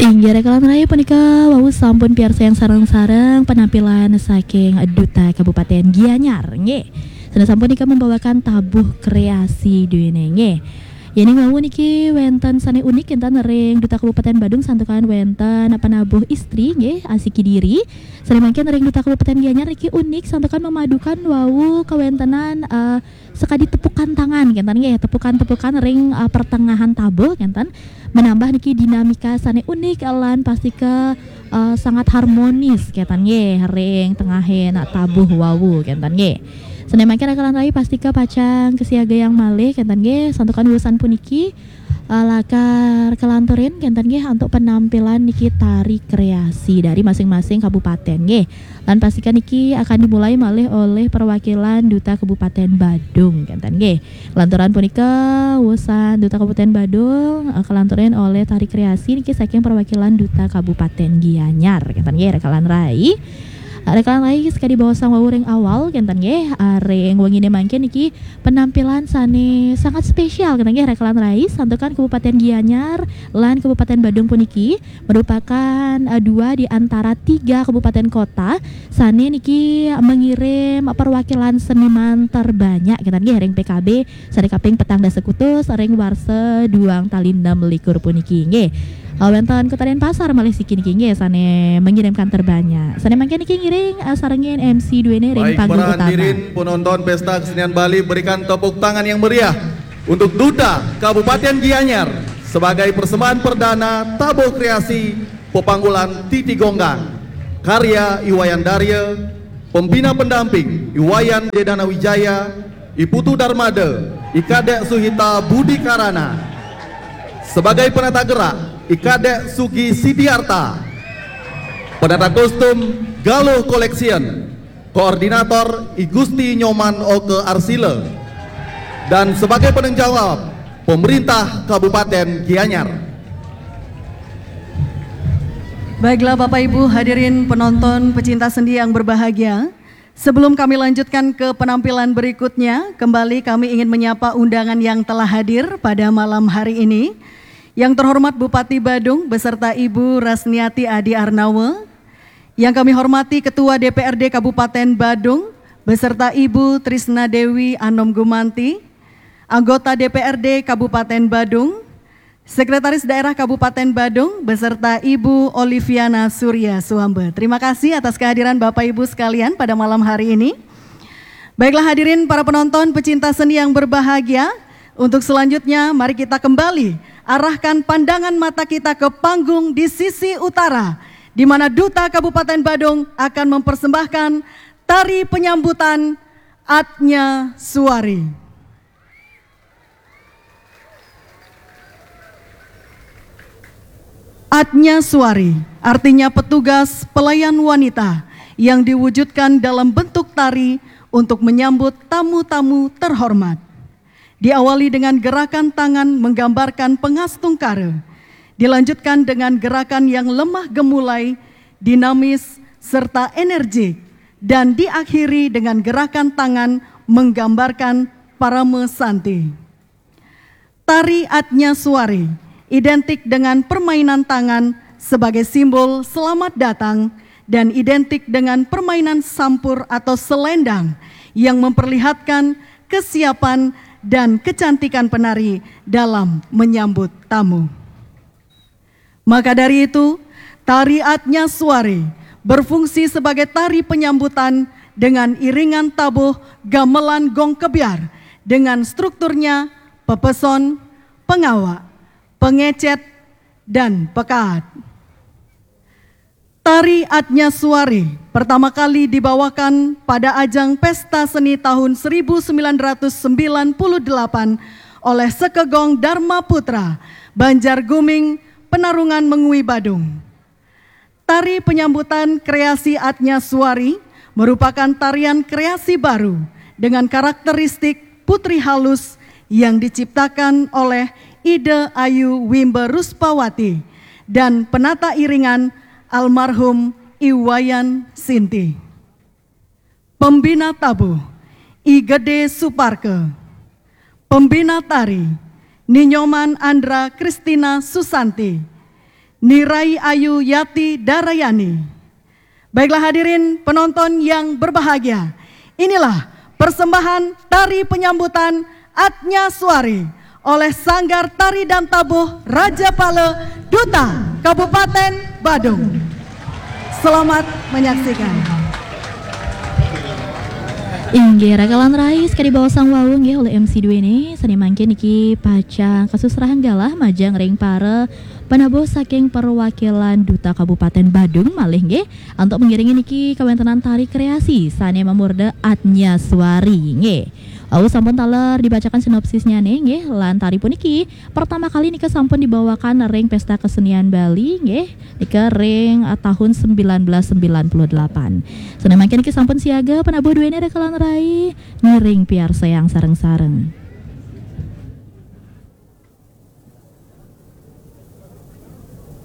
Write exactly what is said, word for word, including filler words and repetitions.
Inggih, rekalan rayi punika wau sampun piarsayang sareng-sareng penampilan saking Duta Kabupaten Gianyar, nggih. Sané sampun nika membawakan tabuh kreasi duene, nggih. Yening wau niki wenten sané unik kinten ring Duta Kabupaten Badung santukan wenten penabuh istri, nggih, asiki diri. Sané mangkin ring Duta Kabupaten Gianyar niki unik santukan memadukan wau kawentenan, eh, sekadi tepukan tangan kinten, nggih, tepukan-tepukan ring, eh, pertengahan tabuh kinten, menambah niki dinamika sané unik lan pastika, eh, sangat harmonis kinten, nggih, ring tengahing tabuh wau kinten, nggih. Sané mangkin rekalan rayi pastika pacang kasiagayang malih kinten, nggih, santukan wusan puniki, eh, lakar kalanturin kinten, nggih, antuk penampilan niki tari kreasi dari masing-masing kabupaten, nggih. Lan pastika niki akan dimulai malih oleh perwakilan Duta Kabupaten Badung kinten, nggih. Lanturan punika wusan Duta Kabupaten Badung, eh, kalanturin oleh tari kreasi niki saking perwakilan Duta Kabupaten Gianyar kinten, nggih, rekalan rayi. Rekalan rayi sakadi baosang wau ring awal kinten, nggih, ring wengine mangkin niki penampilan sané sangat spesial kinten, nggih, rekalan rayi santukan Kabupaten Gianyar lan Kabupaten Badung puniki merupakan, eh, dua di antara tiga kabupaten kota sané niki mengirim perwakilan seniman terbanyak kinten, nggih, ring P K B sané kaping petang dasa kutus ring warsa duang tali enam likur puniki, nggih. Eh, wenten Kota Denpasar malih siki niki, nggih, sané mengirimkan terbanyak. Sané mangkin niki ngiring, eh, sarengin M C duene ring Baik, panggung para utama. Hadirin penonton Pesta Kesenian Bali, berikan tepuk tangan yang meriah untuk Duta Kabupaten Gianyar sebagai persembahan perdana tabuh kreasi pepanggulan Titi Gonggang, karya I Wayan Darya, pembina pendamping I Wayan Dedana Wijaya, I Putu Darmada, I Kadek Suhita Budi Karana. Sebagai penata gerak, I Kadek Sugi Sidiarta. Penata kostum, Galuh Collection. Koordinator, I Gusti Nyoman Oke Arsila. Dan sebagai penanggung jawab, pemerintah Kabupaten Gianyar. Baiklah, Bapak Ibu hadirin penonton pecinta seni yang berbahagia, sebelum kami lanjutkan ke penampilan berikutnya, kembali kami ingin menyapa undangan yang telah hadir pada malam hari ini. Yang terhormat Bupati Badung beserta Ibu Rasniati Adi Arnawa, yang kami hormati Ketua D P R D Kabupaten Badung beserta Ibu Trisna Dewi Anom Gumanti, anggota D P R D Kabupaten Badung, Sekretaris Daerah Kabupaten Badung beserta Ibu Oliviana Surya Suambe. Terima kasih atas kehadiran Bapak Ibu sekalian pada malam hari ini. Baiklah hadirin para penonton pecinta seni yang berbahagia, untuk selanjutnya mari kita kembali arahkan pandangan mata kita ke panggung di sisi utara, di mana Duta Kabupaten Badung akan mempersembahkan tari penyambutan Atnya Suari. Atnya Suari artinya petugas pelayan wanita yang diwujudkan dalam bentuk tari untuk menyambut tamu-tamu terhormat. Diawali dengan gerakan tangan menggambarkan pengastungkara, dilanjutkan dengan gerakan yang lemah gemulai, dinamis, serta energik, dan diakhiri dengan gerakan tangan menggambarkan parama santi. Tari Atnya Suari identik dengan permainan tangan sebagai simbol selamat datang dan identik dengan permainan sampur atau selendang yang memperlihatkan kesiapan dan kecantikan penari dalam menyambut tamu. Maka dari itu, tari Atnya Suari berfungsi sebagai tari penyambutan dengan iringan tabuh gamelan gong kebyar dengan strukturnya pepeson, pengawak, pengecet, dan pekaat. Tari Atnya Suari pertama kali dibawakan pada ajang Pesta Seni tahun seribu sembilan ratus sembilan puluh delapan oleh Sekegong Dharma Putra, Banjar Guming, Penarungan Mengwi, Badung. Tari penyambutan kreasi Atnya Suari merupakan tarian kreasi baru dengan karakteristik putri halus yang diciptakan oleh Ida Ayu Wimba Ruspawati dan penata iringan almarhum I Wayan Sinti. Pembina tabuh, I Gede Suparke. Pembina tari, Ni Nyoman Andra Kristina Susanti, Ni Rai Ayu Yati Darayani. Baiklah hadirin penonton yang berbahagia, inilah persembahan tari penyambutan Atnya Suari oleh Sanggar Tari dan Tabuh Raja Pale, Duta Kabupaten Badung. Selamat menyaksikan. Inggih, rakalan rais, kadi baosang wau nggih oleh M C duene, sane mangkin niki pacang kasusrahang galah majeng ring para penabuh saking perwakilan Duta Kabupaten Badung malih nggih, antuk mengiringi niki kawentenan tari kreasi sane mamurda Atnya Suari nggih. Wau sampun taler dibacakan sinopsisnyane nggih, lan tari puniki pertama kali nika sampun dibawakan ring Pesta Kesenian Bali nggih, nika ring uh, tahun sembilan belas sembilan puluh delapan. Sane mangkin niki sampun siaga penabuh duene rakalan rai, ngiring piarsayang sareng-sareng.